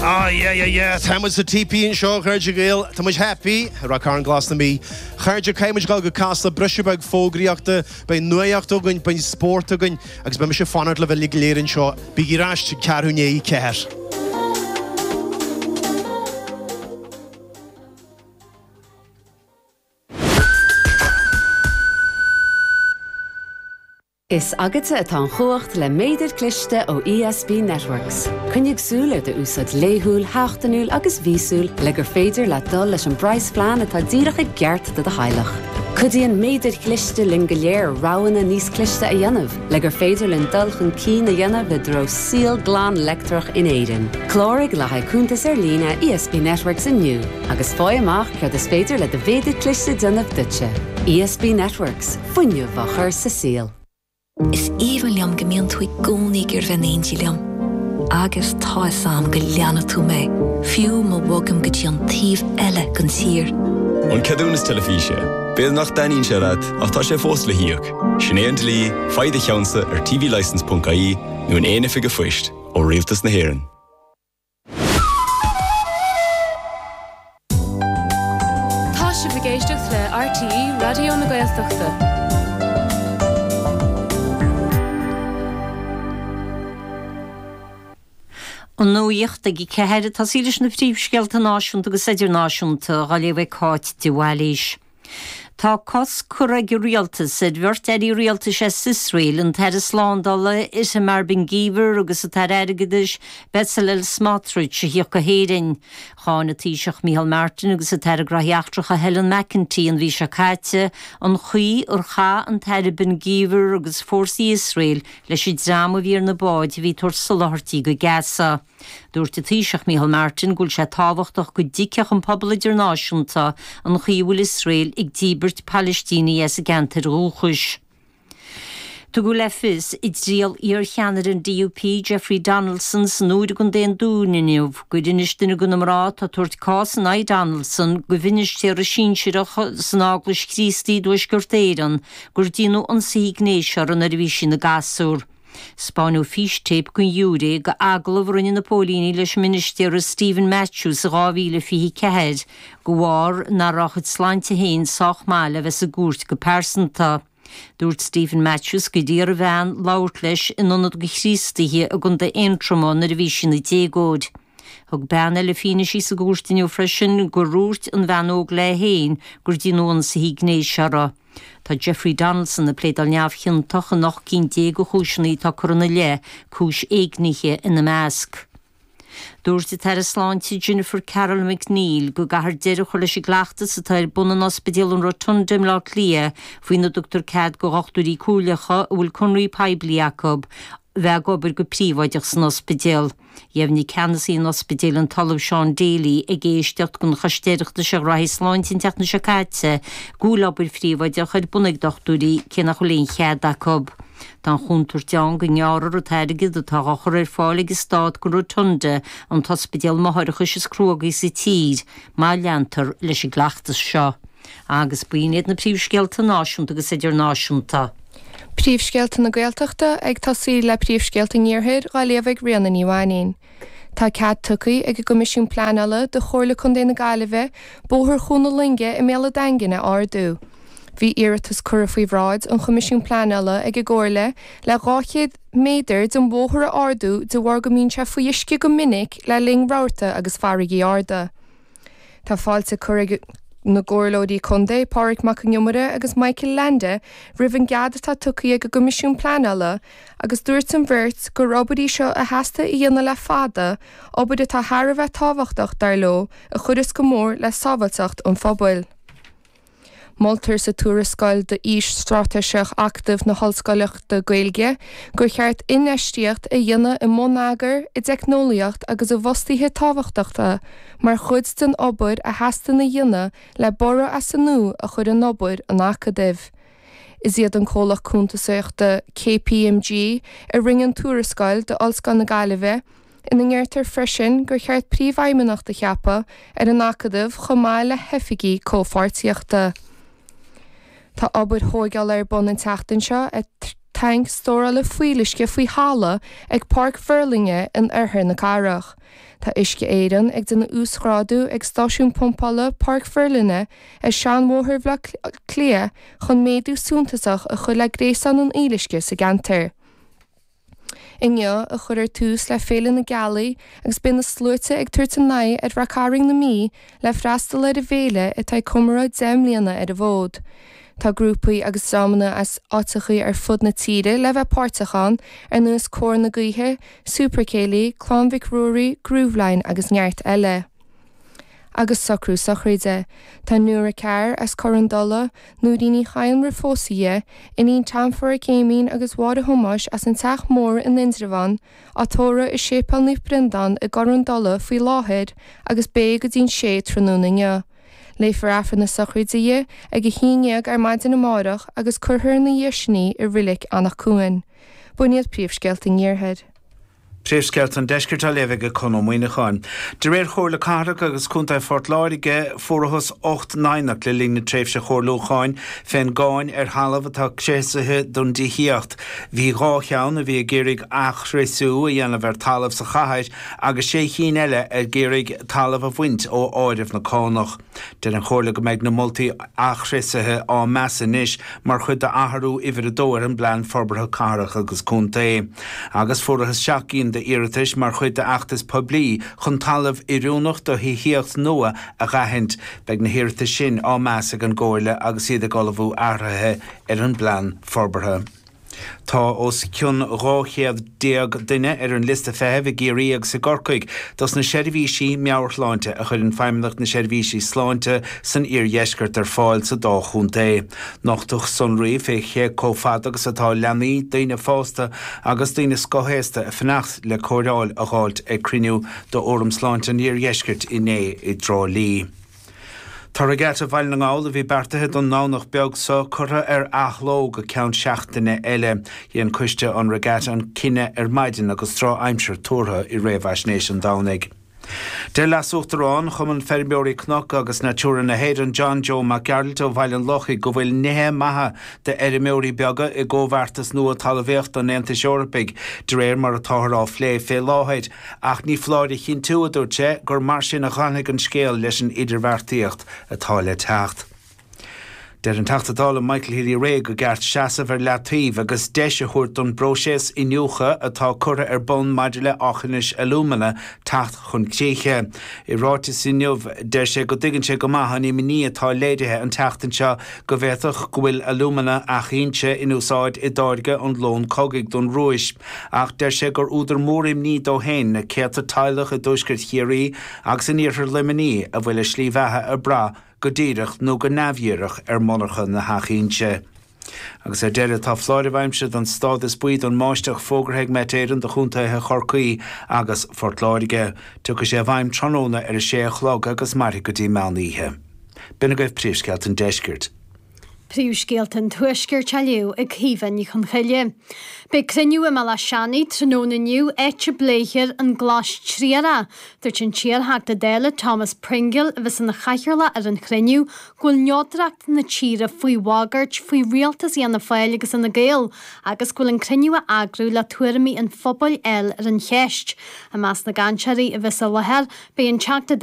Ah yeah yeah yeah, tá muid sa TP anseo, a chairde Gael. Tá muid happy, i Ráth Cairn Glas na Mí. Chairde, caithfidh muid dul go Casla, briseadh beag fógraíochta, beidh nuaíocht againn, beidh spórt againn, agus beidh mise ag fanacht libh uilig go léir anseo. Bígí ar ais ceathrú i ndiaidh 4. Is agatsa atá an chumhacht le méadar cliste ó ESB Networks. Coinnigh súil ar d'úsáid laethúil, sheachtainiúil agus mhíosúil le gur féidir leat dul leis an bpraghasphlean atá díreach i gceart do do theaghlach. Cuidíonn méadair chliste linn go léir roghanna níos cliste a dhéanamh le gur féidir linn dul chun cinn a dhéanamh i dtreo saol glan leictreach in Éirinn. Cláraigh le haghaidh cuntas ar líne ESB Networks inniu agus faigh amach céard is féidir le do mhéadar cliste déanamh duitse. ESB Networks. Fuinneamh á chur sa saol. Is aoibhinn liom go mbíonn tú i gcónaí ag iarraidh bheith in éindí liom. Agus tá 'fhios a'm go leanfaidh tú mé, fiú má bhogaim go dtí an taobh eile den tír. An ceadúnas teilifíse. B'fhéidir nach dtaitníonn sé leat, ach tá sé fós le híoc. Sin é an dlí, faigh do cheannsa ar tvlicence.ie nó in aon oifig an phoist ó Rialtas na hÉireann. Tá sibh ag éisteacht le RTÉ Raidió na Gaeltachta. An Nuacht ag 4, ag tosaí leis na príomhscéalta náisiúnta agus idirnáisiúnta, á léamh ag Cáit de Bhailís. Tá cosc curtha ag an rialtas ar bheirt airí rialtais as Iosrael, an tAire Slándála Itamar Ben-Gvir agus an tAire Airgeadais Bezalel Smotrich, a thíocht go hÉirinn. Cháin an Taoiseach Micheál Martin agus an tAire Gnóthaí Eachtracha Helen McEntee an mhí seo caite an chaoi ar chaith an tAire Ben-Gvir agus fórsaí Iosrael leis an dream a bhí ar na báid a bhí ag tabhairt soláthairtí go Gaza. Dúirt an Taoiseach Micheál Martin go bhfuil sé tábhachtach go dtuigfeadh an pobal idirnáisiúnta an chaoi a bhfuil Iosrael ag díbirt Palaistínigh as a gceantair dhúchais. Tugadh le fios i dtriail iar-cheannaire an DUP Jeffrey Donaldson san Iúr i gContae an Dúin inniu gur inis duine de na mná atá ag tabhairt cás in aghaidh Donaldson do mhinistéara sinsearach san Eaglais Chríostaí i dTuaisceart Éireann gur déanadh ionsaithe gnéis uirthi nuair a bhí sí ina gasúr. Spáineadh fístéip don ghiúiré de agallamh a rinne na póilíní leis an ministéara Steven Matthews i 2024 de bharr nach raibh a chuid sláinte féin sách maith le bheith sa gcúirt go pearsanta. Dúirt Steven Matthews gur iarr a bhean labhairt leis in ionad do Chríostaithe i gContae Aontroma nuair a bhí sí ina déagóir. Thug bean eile fianaise sa gcúirt inniu freisin gur dhúirt an bhean óg léi féin gur déanadh ionsaithe gnéis uirthi. Tá Jeffrey Donaldson ag pléadáil neamhchiontach in 18 cinn de chúiseanna atá curtha ina leith, cúis éignithe ina measc. Dúirt an tAire Sláinte Jennifer Carroll MacNeill go gcaithfear deireadh a chur leis an gcleachtas atá ar bun in Ospidéal an Rotunda i mBleá Cliath faoina dtugtar cead do dhochtúirí comhairleacha a bhfuil conraí poiblí acu bheith ag obair go príobháideach san ospidéal. Dheimhnigh ceannasaí an ospidéil, an tOllamh Seán Daly, ag éisteacht don Choiste Oireachtais ar Ghraithí Sláinte an tseachtain seo caite, go bhfuil obair phríobháideach ar bun ag dochtúirí cé nach bhfuil aon chead acu. Tá an chontúirt ann go ngearrfar an t-airgead atá á chur ar fáil ag an Stát don Rotunda, an t-ospidéal máithreachais is cruógaí sa tír, má leantar leis an gcleachtas seo. Agus b'in iad na príomhscéalta náisiúnta agus idirnáisiúnta. Príomhscéalta na Gaeltachta, ag tosaí le príomhscéalta an Iarthair, á léamh ag Ríona Ní Mhainín. Tá cead tugtha ag an gCoimisiún Pleanála do Chomhairle Contae na Gaillimhe Bóthar Chuan na Loinge i mbéal an Daingin a ardú. Bhí iarratas curtha faoi bhráid an Choimisiúin Pleanála ag an gComhairle le 200 méadar den bhóthar a ardú de bharr go mbíonn sé faoi uisce go minic le linn rabharta agus farraigí arda. Tá fáilte curtha ag na gComhairleoirí Contae, Pádraig Mac Con Iomaire agus Michael Leainde, roimh an gcead atá tugtha ag an gCoimisiún Pleanála agus dúirt an bheirt gur obair í seo a theastaigh a dhéanamh le fada, obair atá thar a bheith tábhachtach, dar leo, a chuireas go mór le sábháilteacht an phobail. Moltar sa tuarascáil d'Fhís Straitéiseach Acadamh na hOllscoilíochta Gaeilge gur cheart infheistíocht a dhéanamh i mbonneagar, i dteicneolaíocht agus i bhfostaithe tábhachtacha mar chuid den obair a theastaíonn a dhéanamh le borradh as an nua a chur in obair an Acadaimh. Is iad an comhlacht cuntasaíochta KPMG a rinne an tuarascáil d'Ollscoil na Gaillimhe, ina ndeirtear freisin gur cheart príomhfheidhmeannacht a cheapadh ar an Acadamh chomh maith le hoifigí comhpháirtíochta. Tá obair thóigeála ar bun an tseachtain seo ar. tanc stórála fuíolluisce faoi thalamh ag Páirc Mhurlainne in oirthear na cathrach. Tá Uisce Éireann ag déanamh uasghrádú ag stáisiún pumpála Páirc Mhurlainne ar Seanbhóthar Bhaile Átha Cliath chun méadú suntasach a chur le gréasán an fhuíolluisce sa gceantar. Inniu a cuirfear tús le Féile na Gealaí agus beidh na sluaite ag tabhairt a n-aghaidh ar Ráth Cairn na Mí le freastal ar an bhféile atá ag comóradh 10 mbliana ar an bhfód. Tá grúpaí agus dreamanna as áiteachaí ar fud na tíre le bheith páirteach ann, ar nós Cór na Gaoithe, Super Céilí, Clann Mhic Ruairí, Grooveline agus neart eile. Agus socrú sochraide. Tá Nóra Carr as Corr an Dola, Nóirín Ní Chadhain roimh phósadh di, iníon Tom Pháraic Éimín agus Mháire Thomáis as an Teach Mór in Indreabhán, á tórramh i Séipéal Naomh Breandán i gCorr an Dola faoi láthair agus beidh go dtí'n sé tráthnóna inniu. Léifear Aifreann na sochraide di ag 11 ar maidin amárach agus cuirfear ina dhiaidh sin í i Reilig Anach Cuain. B'in iad príomhscéalta an Iarthair. Príomhscéalta an Deiscirt á léamh ag Conn Ó Muíneacháin. De réir Chomhairle Cathrach agus Contae Phort Láirge, fuarathas 8 n-aighneacht le linn na tréimhse chomhairliúcháin fén gcáin ar thalamh atá criosaithe don dtithíocht. Bhí 2 cheann a bhí ag iarraidh athchriosú a dhéanamh ar talamh sa chathair agus 6 chinn eile ag iarraidh talamh a bhaint ó áireamh na cánach. Deir an Chomhairle go mbeidh na moltaí athchriosaithe á meas anois mar chuid d'athrú uimhir a dó ar an bPlean Forbartha Cathrach agus Contae. Agus fuarathas 7 gcinn d'iarratais mar chuid d'fheachtas poiblí chun talamh oiriúnach do thithíocht nua a dh'aithint. Beidh na hiarratais sin á meas ag an gComhairle agus iad ag ullmhú athruithe ar an bPlean Forbartha. Tá os cionn 12 chéad duine ar an liosta feithimh i gCiarraí agus i gCorcaigh dos na seirbhísí meabhairshláinte a chuireann Feidhmeannacht na Seirbhísí Sláinte san iardheisceart ar fáil sa dá chontae. Nochtadh sonraí fé cé chomh fada agus atá leanaí, daoine fásta agus daoine scothaosta ag fanacht le cóireáil a dh'fháilt ag cruinniú d'Fhóram Sláinte an Iardheiscirt inné i dTrá Lí. Tá Regatta Bhaile na nGall a bhí beartaithe don nDomhnach beag so curtha ar athló go ceann seachtaine eile. Dhein coiste an Regatta an cinneadh ar maidin agus droch-aimsir tuartha i réamhaisnéis an Domhnaigh. Deir Leas-Uachtarán Chumann Feirmeoirí Cnoc agus Natura na hÉireann John Joe Mac Gearailt ó Bhaile an Lochaigh go bhfuil nithe maithe d'fheirmeoirí beaga i gComhbheartas nua Talmhaíochta an Aontais Eorpaigh de réir mar atáthar á phlé fé láthair. Ach ní foláir a chinntiú, a dúirt sé, gur mar sin a dh'fhanfaidh an scéal leis an idirbheartaíocht atá le teacht. Deir an Teachta Dála Michael Healy-Rae go gceart seasamh ar leataobh agus deis a thabhairt don bpróiseas iniúchadh atá curtha ar bun maidir le Aughinish Alumina teacht chun críche. I ráiteas inniu, deir sé go dtuigeann sé go maith an imní atá léirithe an tseachtain seo go bhféadfadh go bhfuil alúmana athghinte in úsáid i dtáirgeadh an lón cogaidh don Rúis. Ach deir sé gur údar mór imní dó féin na céadta teaghlach i dtuaisceart Chiarraí agus in iarthar Luimnigh a bhfuil a slí bheatha ag brath go díreach nó go neamhdhíreach ar mhonarcha na hAthghinte. Agus ar deireadh, tá foláireamh aimsire den stádas buí don mbáisteach fógartha ag Met Éireann do chontaetha Chorcaí agus Phort Láirge. Tiocfaidh sé i bhfeidhm tráthnóna ar a sé a chlog agus mairfidh go dtí meán oíche. B'in agaibh príomhscéalta an deiscirt. Príomhscéalta an Tuaiscirt á léamh ag Caoimhe Ní Chonchoille. Beidh cruinniú i mBéal Átha Seanaidh tráthnóna inniu áit a bpléifear an Glas Triarach. Dúirt an t-iarTheachta Dála Thomas Pringle, a bheas ina chathaoirleach ar an chruinniú, go bhfuil neodracht na tíre faoi bhagairt faoi rialtas Fhianna Fáil agus Fhine Gael agus go bhfuil an cruinniú á eagrú le tuairimí an phobail a fháil ar an cheist. I measc na gcainteoirí a bheas i láthair, beidh an Teachta.